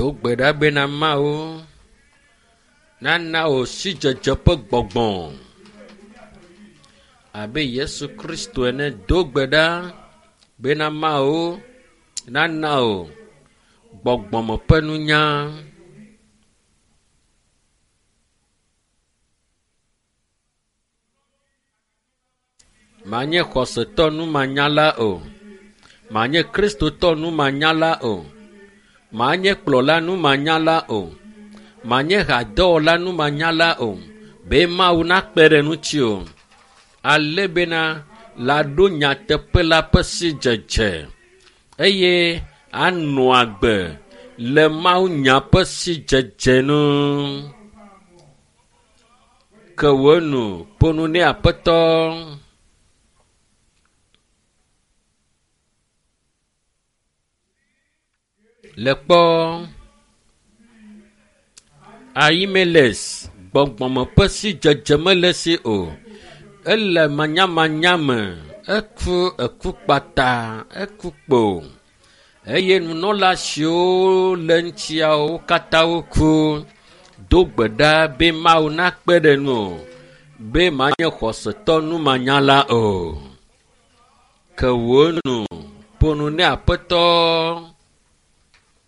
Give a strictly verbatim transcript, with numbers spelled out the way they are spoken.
Do gbe ɖa bena Mawu nana wò sidzedze ƒe gbɔgbɔ abe Yesu Kristo ene. Do gbe ɖa bena Mawu nana wò gbɔgbɔme ƒe nunya. Manye xɔsetɔ numanyala o. Manye Kristotɔ numanyala o. Manye kplɔla numanyala o. Manye hadɔwɔla numanyala o. Be Mawu nakpe ɖe ŋuti o. Ale bena laɖo nyateƒe la ƒe sidzedze eye anɔ agbe le Mawu nya ƒe sidzedze nu. Ke wò nu ƒo nu nɛ Aƒetɔ. Le kpɔ Ahimelek gbɔgbɔme ƒe sidzedze mele esi o. Ele manyamanya me. Eku eku kpata, eku kpo eye nunɔla siwo le ŋutiawo wo katã woku. Do gbe ɖa be Mawu nakpe ɖe ŋuwò be manye xɔsetɔ numanyala o. Ke wò nu ƒo nu nɛ Aƒetɔ.